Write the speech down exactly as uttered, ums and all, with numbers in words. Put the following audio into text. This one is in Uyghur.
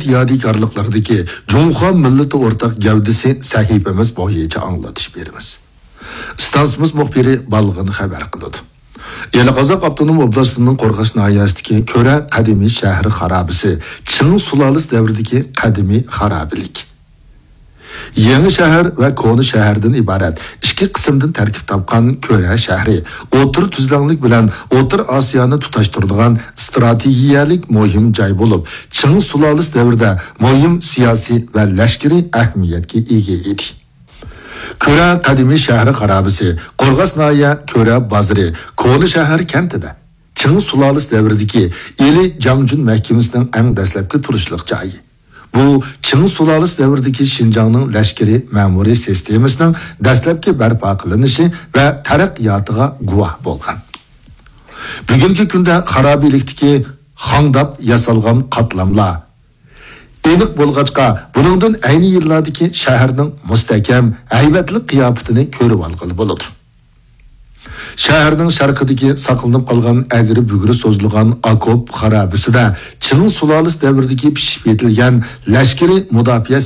يادىكارلىقلىرىدىكى جۇڭخۇا مىللىتى ئورتاق گەۋدىسى سەھىپىمىز بويىچە ئاڭلىتىش بېرىمىز. ئىستانسىمىز مۇخبىرى بالغىن خەۋەر قىلىدۇ. يەنە قازاق ئاپتونوم ئوبلاستىنىڭ قورغاس ناھىيەسىدىكى كۆرە قەدىمىي شەھەر خارابىسى، چىڭ سۇلالىسى دەۋرىدىكى قەدىمىي خارابىلىك. يېڭى شەھەر ۋە كونا شەھەردىن ئىبارەت ئىككى قىسىمدىن تەركىب تاپقان كۆرە شەھىرى ئوتتۇرا تۈزلەڭلىك بىلەن ئوتتۇرا ئاسىيانى تۇتاشتۇرىدىغان ئىستراتېگىيەلىك مۇھىم جاي بولۇپ، چىڭ سۇلالىسى دەۋرىدە مۇھىم سىياسىي ۋە لەشكىرىي ئەھمىيەتكە ئىگە ئىدى. كۆرە قەدىمىي شەھەر خارابىسى، قورغاس ناھىيە كۆرە بازىرى، كونا شەھەر كەنتىدە چىڭ سۇلالىسى دەۋرىدىكى ئىلى جاڭجۈن مەھكىمىسىنىڭ ئەڭ دەسلەپكى تۇرۇشلۇق جايى. بۇ چىڭ سۇلالىسى دەۋرىدىكى شىنجاڭنىڭ لەشكىرىي مەمۇرىي سىستېمىسىنىڭ دەسلەپكى بەرپا قىلىنىشى ۋە تەرەققىياتىغا گۇۋاھ بولغان. بۈگۈنكى كۈندە خارابىلىكتىكى خاڭداپ ياسالغان قاتلاملار ئېنىق بولغاچقا، بۇنىڭدىن ئەينى يىللاردىكى شەھەرنىڭ مۇستەھكەم، ھەيۋەتلىك قىياپىتىنى كۆرۈۋالغىلى بولىدۇ. شەھەرنىڭ شەرقىدىكى ساقلىنىپ قالغان ئەگرى-بۈگرى سوزۇلغان ئاكوپ خارابىسىدە چىڭ سۇلالىسى دەۋرىدىكى پىشىپ يېتىلگەن لەشكىرىي مۇداپىئە